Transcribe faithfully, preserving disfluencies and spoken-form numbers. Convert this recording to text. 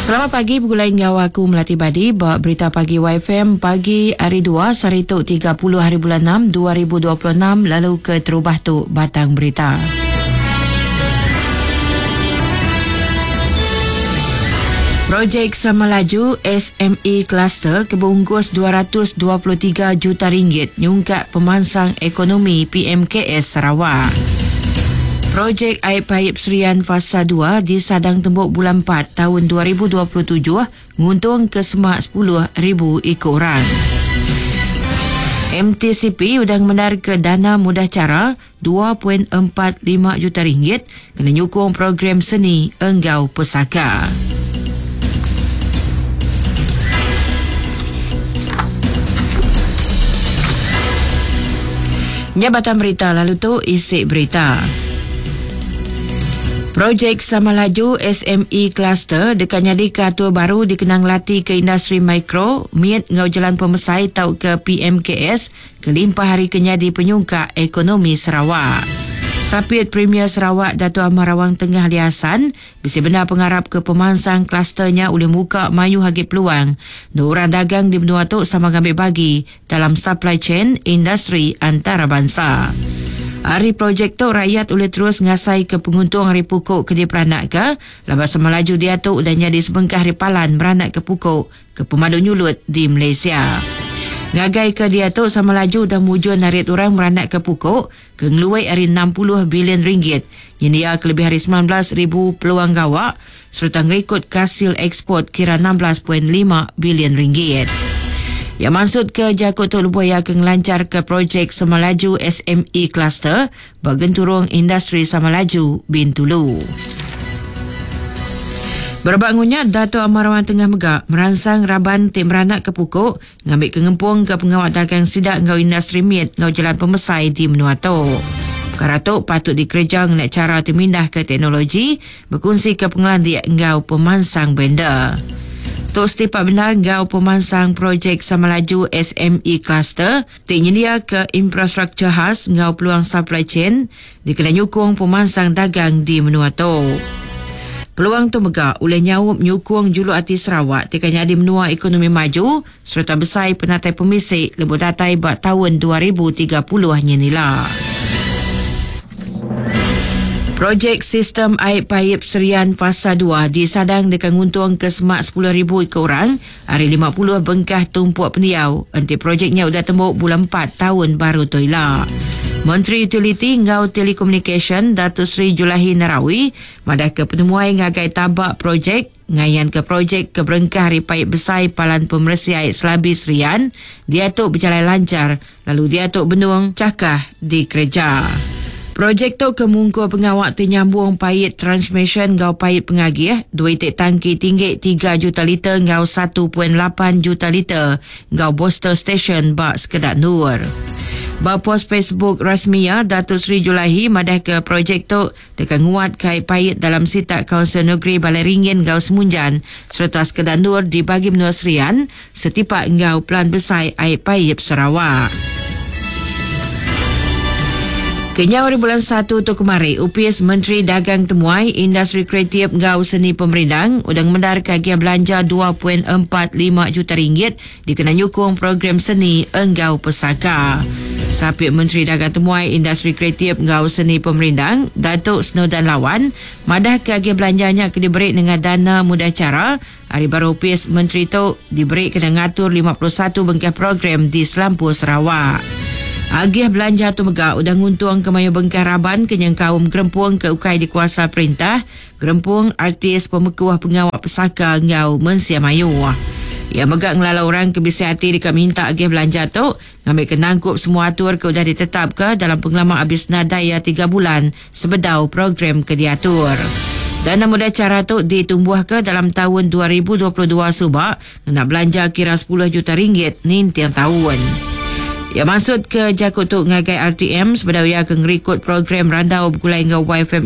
Selamat pagi begulai enggau aku Melati Badi ba Berita Pagi Y F M pagi hari dua sehari tu tiga puluh hari bulan enam dua ribu dua puluh enam lalu ke terubah tu batang berita. Projek Samalaju S M E Cluster kebungkus dua ratus dua puluh tiga juta ringgit nyungkak pemansang ekonomi P M K S Sarawak. Projek Air Paip Serian Fasa dua di Sadang Tembok bulan empat tahun dua ribu dua puluh tujuh nguntung ke semak sepuluh ribu ikut orang. M T C P udah menar ke dana mudah cara dua perpuluhan empat lima juta ringgit kena nyukung program seni enggau pesaka. Nyabatan berita lalu tu isi berita. Projek Samalaju S M E Cluster dekat nyadi ke atur baru dikenang lati ke industri mikro, miet ngau jalan pemesai tau ke P M K S kelimpah hari kenyadi penyungkak ekonomi Sarawak. Sapit Premier Sarawak Dato' Amar Awang Tengah Ali Hasan bisa benar pengarap ke pemansang klusternya oleh muka mayu hagi peluang. Dua orang dagang di benua tu sama ngambil bagi dalam supply chain industri antarabangsa. Hari projek tu rakyat boleh terus ngasai ke penguntung hari pukuk ke dia peranak ke. Lepas Samalaju dia tu dan jadi sebengkah hari palan beranak ke pukuk ke pemadu nyulut di Malaysia. Ngagai ke dia tu Samalaju dah mujur narik orang beranak ke pukuk ke ngeluai hari enam puluh bilion ringgit. Nyendia ke lebih hari sembilan belas ribu peluang gawak serta ngerikut kasil ekspor kira enam belas perpuluhan lima bilion ringgit. Yang maksud ke Jakut Tok Lubuaya ke ngelancar ke projek Samalaju S M E Cluster bergenturung industri Samalaju Bintulu. Berbangunnya Dato' Amar Awang Tengah Megak merangsang raban tim beranak ke pukuk ngambil kengempung ke pengawal dagang sidak ngau industri miet ngau jalan pemesai di menua tu. Perkara tu patut dikerja ngena cara termindah ke teknologi berkongsi ke pengelandik ngau pemansang vendor. Tok setipak benar ngau pemansang projek Samalaju S M E Cluster ti nyendia ke infrastruktur khas ngau peluang supply chain dikena nyukung pemansang dagang di menua tu. Peluang tu megak oleh nyaup nyukung juluk hati Sarawak ti kena di menua ekonomi maju serta besai penatai pemisik lebuh datai bak tahun dua ribu tiga puluh nyenila. Projek Sistem Air Paip Serian Fasa dua disadang dekat nguntung ke semak sepuluh ribu ikut orang hari lima puluh bengkah tumpuk pendiau. Enti projeknya udah tembuk bulan empat tahun baru tu ila. Menteri Utiliti ngau Telekomunikasi Datuk Seri Julaihi Narawi madah ke penemuai ngagai tabak projek ngayan ke projek ke berengkah hari paip besai Palan Pemersi Air Selabi Serian dia tu berjalan lancar lalu dia tu benung cakah di kerja. Projek tu kemungkur pengawak ternyambung pait transmission ngau pait pengagih, dua itik tangki tinggi tiga juta liter ngau satu perpuluhan lapan juta liter ngau booster station bak sekedak nur. Ba pos Facebook rasmiya Datuk Seri Julaihi madah ke projek tu dekat nguat kait pait dalam sitak Kawasan Negeri Balai Ringin ngau Semunjan serta sekedak nur di bagi menua Serian setipak ngau pelan besai air paip Sarawak. Kenyau hari bulan satu tu kemari, U P S Menteri Dagang Temuai, Industri Kreatif Ngau Seni Pemerindang udang mendar kagian belanja dua perpuluhan empat lima juta ringgit dikena nyukung program seni Enggau Pesaka. Sapit Menteri Dagang Temuai, Industri Kreatif Ngau Seni Pemerindang, Datuk Snowdan Lawan, madah kagian belanjanya ke diberi dengan dana mudah cara. Hari baru U P S Menteri tu diberi kena ngatur lima puluh satu bengkah program di Selampur Sarawak. Agih belanja tu megak udah nguntung ke mayu bengkah raban kenyang kaum gerempung ke ukai di kuasa perintah, gerempung artis pemekuah pengawak pesaka ngau mensia mayu. Ia megak ngelala orang ke bisa hati dekat minta agih belanja tu, ngambil kenangkup semua atur ke udah ditetap ke dalam pengalaman habis nadaya tiga bulan sebedau program ke diatur. Dan nama cara tu ditumbuh ke dalam tahun dua ribu dua puluh dua subak, nak belanja kira sepuluh juta ringgit nintiang tahun. Ya maksud ke Jakut tu ngagai R T M sebenar ia ke ngerikut program Randau Begulai Ngau Y F M